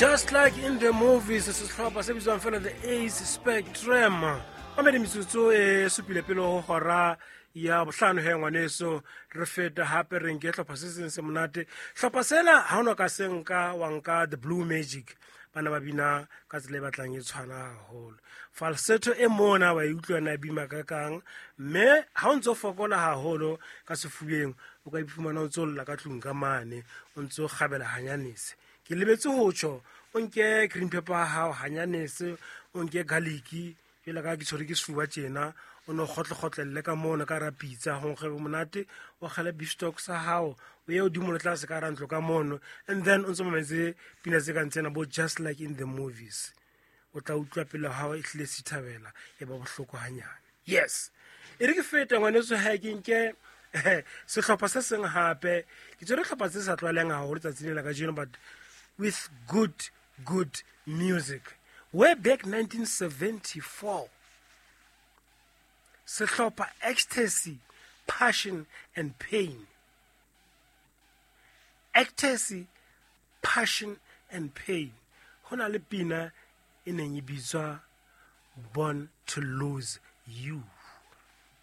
Just Like in the Movies, sehlopha se bitswang fela The Ace Spectrum. Mamedi, metsotso e supile pele ho hora ya bohlano. He ngwaneso, re feta hape re nke hlopha se seng se monate. Hlopha sena ha ona ka se nka wa nka The Blue Magic. Bana ba bina ka tsela e batlang e tshwana haholo, falsetto e mona wa e utlwa na bima ka kang, mme ha o ntso fokola haholo ka sefubeng, o ka iphumana o ntso lla ka tlung ka mane, o ntso kgabela hanyanese. Ke lebetse ho tjho, o nke green pepper ya hao hanyanese, o nke garlic, jwale ka ke tshwere ke sefuba tjena, o no kgotlekgotlelle ka mona ka ra pitsa go nkgebe monate, o kgele beef stock sa hao, o ye godimo le tlase ka ra ntlo ka mono, and then o ntse mametse pina tse kang tsena bo Just Like in the Movies. O tla utlwa pele hao e hlile sithabela, e ba bohloko hanyane. Yes, e re ke feta ngwaneso, ha ke nke sehlopha se seng hape. Ke tswere hlopha tse sa tlwaeleng haholo tsatsing lena kajeno, but with good good music. Way back 1974, sehlopha Ecstasy Passion and Pain. Ecstasy Passion and Pain, ho na le pina e neng e bitswa Born to Lose You.